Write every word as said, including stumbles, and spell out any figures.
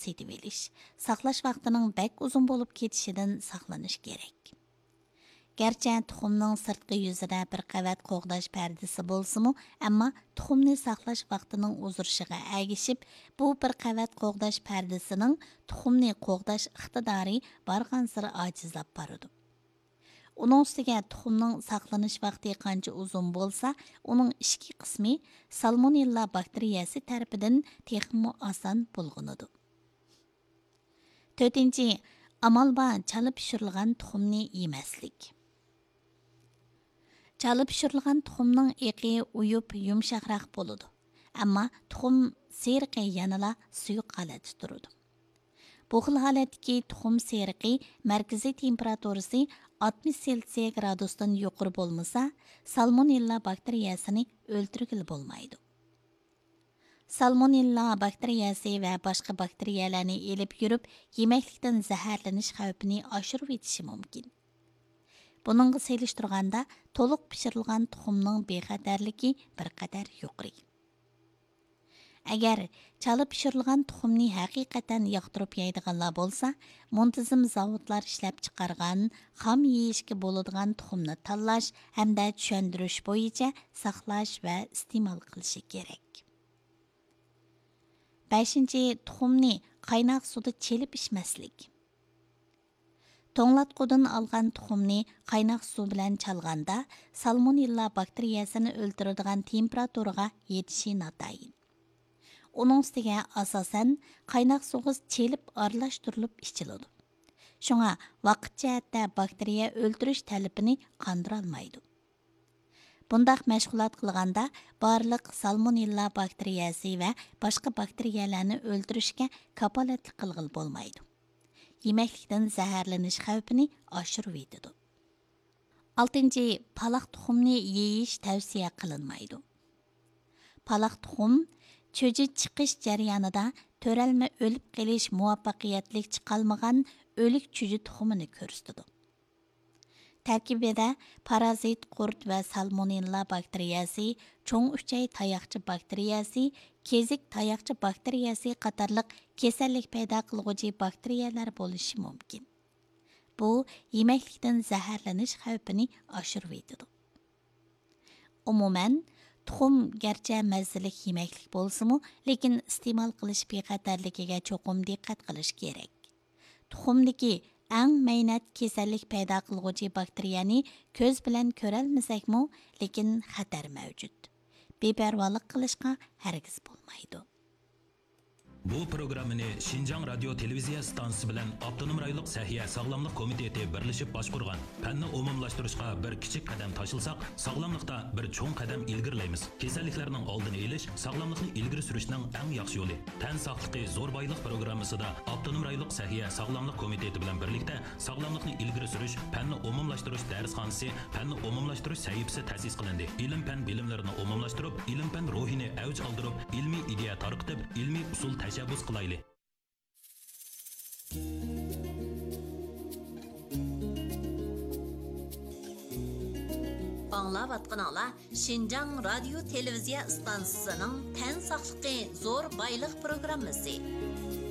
سېتىۋېلىش، ساقلاش ۋاقتىنىڭ بەك ئۇزۇن بولۇپ كېتىشىدىن ساقلىنىش كېرەك. گەرچە تۇخۇمنىڭ سىرتقى يۈزىدە بىر قەۋەت قوغداش پەردىسى بولسىمۇ، ئەمما تۇخۇمنى ساقلاش ۋاقتىنىڭ ئۇزىرىشىغا ئەگىشىپ، بۇ بىر قەۋەت قوغداش پەردىسىنىڭ تۇخۇمنى قوغداش ئىقتىدارى بارغانسېرى ئاجىزلاپ بارىدۇ. ئۇنىڭ ئۈستىگە تۇخۇمنىڭ ساقلىنىش ۋاقتى قانچە ئۇزۇن بولسا، ئۇنىڭ ئىچكى قىسمى سالمونېللا باكتېرىيەسى تەرىپىدىن تېخىمۇ ئاسان بۇلغىنىدۇ. تۆتىنچى، ئامال بار چالا پىشۇرۇلغان تۇخۇمنى يېمەسلىك. چالا پىشۇرۇلغان تۇخۇمنىڭ ئېقى ئۇيۇپ يۇمشاقراق بولىدۇ، ئەمما تۇخۇم سېرىقى يەنىلا سۇيۇق ھالەتتە تۇرىدۇ. بۇ خىل ھالەتتىكى تۇخۇم سېرىقى مەركىزىي تېمپېراتۇرىسى ئاتمىش سېلسىيە گرادۇستىن يۇقىرى بولمىسا، سالمونېللا باكتېرىيەسىنى ئۆلتۈرگىلى بولمايدۇ. سالمونېللا باكتېرىيەسى ۋە باشقا باكتېرىيەلەرنى ئېلىپ يۈرۈپ، يېمەكلىكتىن زەھەرلىنىش خەۋپىنى ئاشۇرۇۋېتىشى مۇمكىن. بۇنىڭغا سېلىشتۇرغاندا، تولۇق پىشۇرۇلغان تۇخۇمنىڭ بىخەتەرلىكى بىر قەدەر يۇقىرى. ئەگەر چالا پىشۇرۇلغان تۇخۇمنى ھەقىقەتەن ياقتۇرۇپ يەيدىغانلار بولسا، مۇنتىزىم زاۋۇتلار ئىشلەپچىقارغان خام يېيىشكە بولىدىغان تۇخۇمنى تاللاش ھەمدە چۈشەندۈرۈش بويىچە ساقلاش ۋە ئىستېمال قىلىشى كېرەك. بەشىنچى، تۇخۇمنى قايناق سۇدا چېلىپ ئىچمەسلىك. توڭلاتقۇدىن ئالغان تۇخۇمنى قايناق سۇ بىلەن چالغاندا، سالمونېللا باكتېرىيەسىنى ئۆلتۈرىدىغان تېمپېراتۇرىغا يېتىشى ناتايىن. ئۇنىڭ ئۈستىگە ئاساسەن قايناق سۇغا چېلىپ ئارىلاشتۇرۇلۇپ ئىچىلىدۇ. شۇڭا ۋاقىت جەھەتتە باكتېرىيە ئۆلتۈرۈش تەلىپىنى قاندۇرالمايدۇ. بۇنداق مەشغۇلات قىلغاندا بارلىق سالمونېللا باكتېرىيەسى ۋە باشقا باكتېرىيەلەرنى ئۆلتۈرۈشكە كاپالەتلىك قىلغىلى بولمايدۇ. يېمەكلىكتىن زەھەرلىنىش خەۋپىنى ئاشۇرۇۋېتىدۇ. ئالتىنچى، پالاق تۇخۇمنى يېيىش تەۋسىيە قىلىنمايدۇ. پالاق تۇخۇم چۈجە چىقىش جەريانىدا تۆرەلمە ئۆلۈپ قېلىش مۇۋەپپەقىيەتلىك چىقالمىغان ئۆلۈك چۈجە تۇخۇمىنى كۆرسىتىدۇ. تەركىبىدە پارازىت قۇرت ۋە سالمونېللا باكتېرىيەسى، چوڭ ئۈچەي تاياقچە باكتېرىيەسى، كېزىك تاياقچە باكتېرىيەسى قاتارلىق كېسەللىك پەيدا قىلغۇچى باكتېرىيەلەر بولۇشى مۇمكىن. بۇ يېمەكلىكتىن زەھەرلىنىش خەۋپىنى ئاشۇرۇۋېتىدۇ. ئومۇمەن، تۇخۇم گەرچە مەززىلىك يېمەكلىك بولسىمۇ، لېكىن ئىستېمال قىلىش بىخەتەرلىكىگە چوقۇم دىققەت قىلىش كېرەك. تۇخۇمدىكى ئەڭ مەينەت كېسەللىك پەيدا قىلغۇچى باكتېرىيەنى كۆز بىلەن كۆرەلمىسەكمۇ، لېكىن خەتەر مەۋجۇت. بىپەرۋالىق قىلىشقا ھەرگىز بولمايدۇ. بۇ پروگراممىنى شىنجاڭ رادىيو تېلېۋىزىيە ئىستانسىسى بىلەن ئاپتونوم رايونلۇق سەھىيە ساغلاملىق كومىتېتى بىرلىشىپ باشقۇرغان. پەننى ئومۇملاشتۇرۇشقا بىر كىچىك قەدەم تاشلىساق، ساغلاملىقتا بىر چوڭ قەدەم ئىلگىرىلەيمىز. كېسەللىكلەرنىڭ ئالدىنى ئېلىش، ساغلاملىقنى ئىلگىرى سۈرۈشنىڭ ئەڭ ياخشى يولى. تەن ساقلىقى زور بايلىق پروگراممىسىدا ئاپتونوم رايونلۇق سەھىيە ساغلاملىق كومىتېتى بىلەن بىرلىكتە ساغلاملىقنى ئىلگىرى سۈرۈش، پەننى ئومۇملاشتۇرۇش دەرسخانىسى، پەننى ئومۇملاشتۇرۇش سەھىپىسى تەسىس قىلىندى. ئىلىم-پەن بىلىملىرىنى ئومۇملاشتۇرۇپ، ئىلىم-پەن روھىنى ئەۋج ئالدۇرۇپ، ئىلمىي ئىدىيە تارقىتىپ، ئىلمىي ئۇسۇل تەشەببۇس قىلايلى. ئاڭلاۋاتقىنىڭلار شىنجاڭ رادىيو تېلېۋىزىيە ئىستانسىسىنىڭ تەن ساقلىقى زور بايلىق پروگراممىسى.